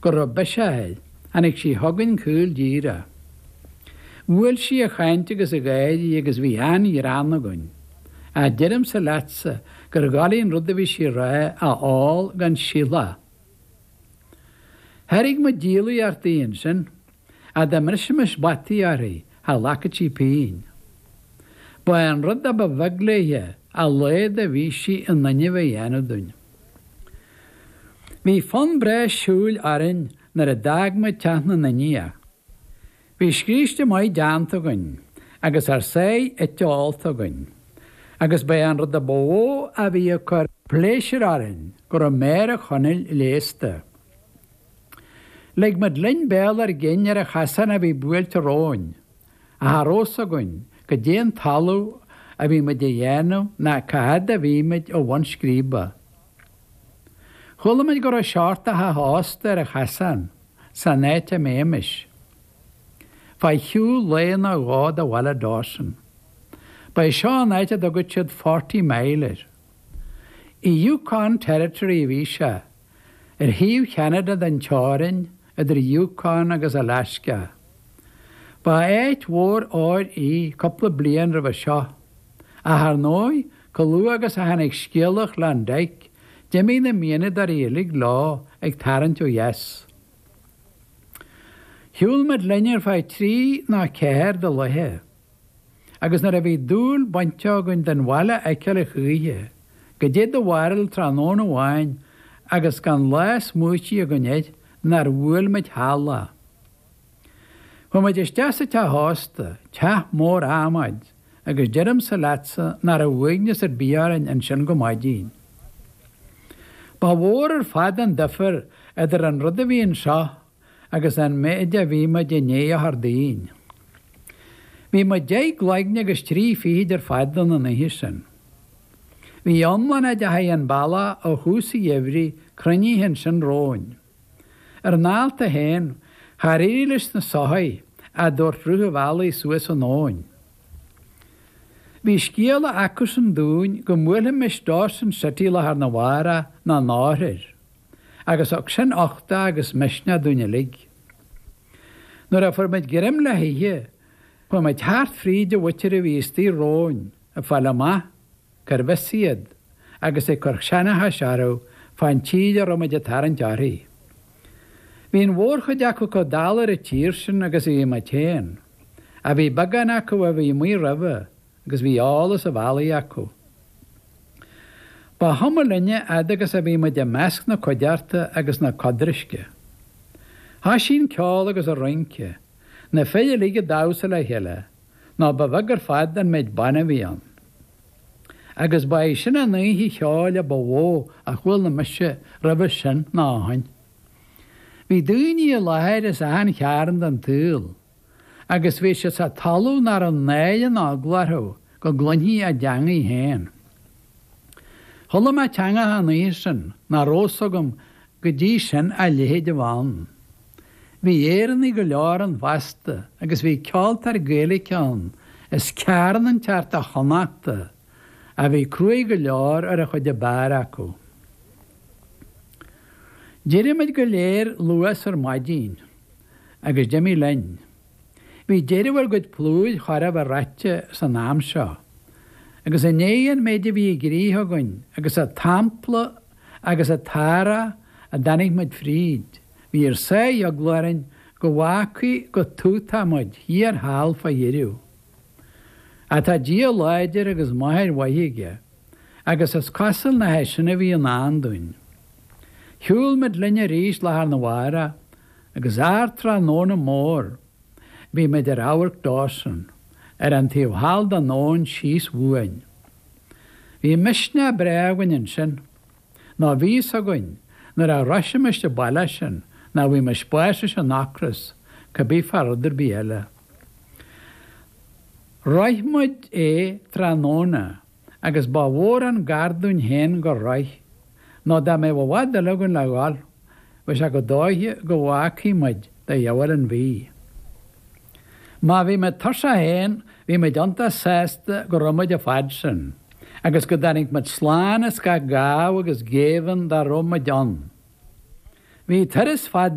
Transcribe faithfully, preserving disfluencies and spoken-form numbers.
go raibh biseach air, tháinig sí chugainn caol díreach. Bhuail sí a chaint agus a gáirí agus bhí an-ghreann againn. Ach deirimse leatsa gur dhoiligh an rud a bhí sí a rá a fháil gan sileadh. Thairg muid díolaíocht di ansin, ach dá mbrisfimis bataí uirthi, cha ghlacfadh sí pingin. Ba é an rud a ba bheag léithe a laghad a bhí sí in inmhe a dhéanamh dúinn. Bhí fonn breá siúil orainn nuair a d'fhág muid teach na nIndiach. Bhí scríste maith déanta againn agus ár sáith ite ólta againn, agus ba é an rud a ba mhó a bhí ag cur pléisiúir orainn go raibh Máire Chonaill leigheasta. Lig muid linn béal ár gcinn ar an chasán a bhí buailte romhainn, ach cha raibh fhios againn goidé an talamh a bhí muid a dhéanamh ná cá fhad a bhí muid ó bhun scríbe. Chuala muid go raibh seort de theach ósta ar an chasán, san áit a mbeimis. Fá shiúl lae nó dhó de bhaile Dawson. Ba é seo an áit a dtugadh siad Forty Mile air. I Yukon Territory a bhí sé, ar thaobh Cheanada den teorainn idir Yukon agus Alaska. Ba áit mhór óir í cúpla bliain roimhe seo, ach ar ndóigh, chomh luath agus a tháinig scéala Klondike, d'imigh na mianadóirí uilig leo ag tarraingt ó dheas. Shiúil muid linn ar feadh trí nó ceathair de laethe, agus nuair a bhí dúil bainte againn den bhaile a fheiceáil a choíche, goidé do bharúil tráthnóna amháin agus gan lá smaoitithe againn air nár bhuail muid thall é. Chuaigh muid isteach sa teach ósta, teach mór adhmaid, agus deirimse leatsa nach raibh uaigneas ar bith orainn ansin go maidin. Ba mhór ar fad an difear idir an rud a bhí anseo agus an méid a bhí muid i ndiaidh a chur dínn. Bhí muid deich gcloigne agus trí fichid ar fad ann an oíche sin. Bhí iomlán a dteachaigh an bealach ó thús an gheimhridh cruinnithe ansin romhainn. Ar an alt a haon, Char éirigh leis na soithí a dtabhairt rith an bhealaigh suas an abhainn. Bhí scéala acusan dúinn go mbuailfimis Dawson City lá arna mhárach nó an athair, agus thug sin uchtach agus misneach dúinn uilig. Nuair a fuair muid greim le hithe, chuaigh muid thart fríd an mhuintir a bhí istigh romhainn ag fáil amach cárbh as iad agus ag cur seanchais orthu fán tír a raibh muid ag tarraingt uirthi. Bhí an mhórchuid acu chomh dall ar an tír sin agus a bhí muid féin, ach bhí beagán acu a bhí amuigh roimhe agus bhí eolas an bhealaigh acu. Ba chuma linne fhad agus a bhí muid i measc na cuideachta agus na codraisce. Thoisigh an ceol agus an rince, na fir uilig ag damhsa le chéile, nó ba bheag ar fad an méid ban a bhí ann. Agus ba é sin an oíche cheoil a ba mhó a chuala mise roimhe sin ná ó shin. Bhí daoine i láthair as achan chearn den tsaol, agus bhí siad sa talamh nach raibh náire ná eagla orthu go gcluinfí a dteangaidh féin. Chuala mé teangacha an oíche sin nach raibh fhios agam go dtí sin a leithéid a bheith ann. Bhí Éireannaigh go leor ann fosta agus bhí ceoltóir Gaeilge ann as cearn inteacht de Chonnachta a bhí cruaidh go leor ar an chuid ab fhearr acu. D'éirigh muid go léir luath ar maidin agus d'imigh linn. Bhí deireadh ár gcuid plúir chóir a bheith reaite san am seo, agus i ndiaidh an méid a bhí i gcrích againn agus an t-ampla agus an t-earrach a dtáinig muid fríd, bhí ár sáith eagla orainn go bhfágfaí go tútach muid thiar thall fá dheireadh. Ach tá Dia láidir agus máthair mhaith aige, agus is cosúil nach é sin a bhí i ndán dúinn. Shiúil muid linn arís lá arna mhárach agus ardtráthnóna mór bhí muid ar amharc Dawson, ar an taobh thall den abhainn síos uainn. Bhí misneach breá againn ansin, nó bhí fhios againn nuair a shroisfimis an baile sin nach bhfaighfimis bás leis an ocras, cibé fá rud ar bith eile. Shroich muid é tráthnóna agus ba mhór an gar dúinn féin gur shroich, nó dá mbeadh i bhfad eile againn le dhul, bheadh sé go dóiche go bhfágfaí muid de dhiabhail an mhí. Má bhí muid tuirseach féin, bhí muid iontach sásta go raibh muid an fad sin, agus go dtáinig muid slán as gach gábh agus géibheann dá raibh muid ann. Bhí turas fada,